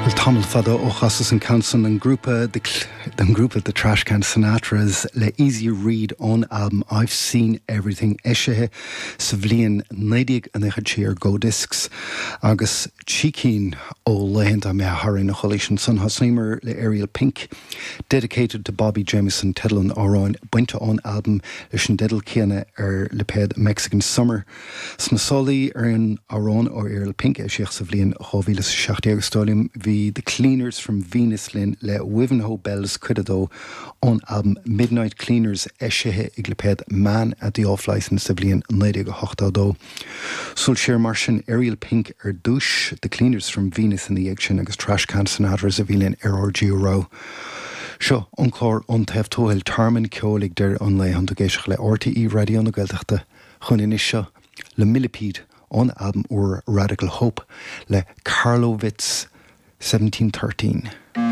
Bhuel, tamall fada ó chasas an ceann san, an grúpa an grúpa The Trashcan Sinatras le Easy Read ón albam I've Seen Everything eisithe sa bhliain 1993 ar Go Discs agus trí cinn ó laethanta imithe tharainn a chualaís ansan. Thosnaíomar le Ariel Pink, Dedicated to Bobby Jamieson teideal an amhráin, bainte ón albam leis an dteideal céanna ar lipéad Mexican Summer. Sna sálaí ar an amhrán ó Ariel Pink a eisíodh sa bhliain 2017, is dóigh liom, bhí The Cleaners from Venus linn le Wivenhoe Bells Cuid 2 ón albam Midnight Cleaners eisithe ag lipéad Man at the Off Licence sa bhliain 1982. Súil siar mar sin, Ariel Pink ar dtús, The Cleaners from Venus ina dhiaidh sin agus Trashcan Sinatras a bhí linn ar RGU Rogha. Seo an clár Ón Taobh Tuathail, tearmann ceoil ag deireadh an lae, tánn tú ag éisteacht le RTÉ Raidió na Gaeltachta. Chugainn anois seo le Millipede ón albam úr Radical Hope le Karlowitz 1713.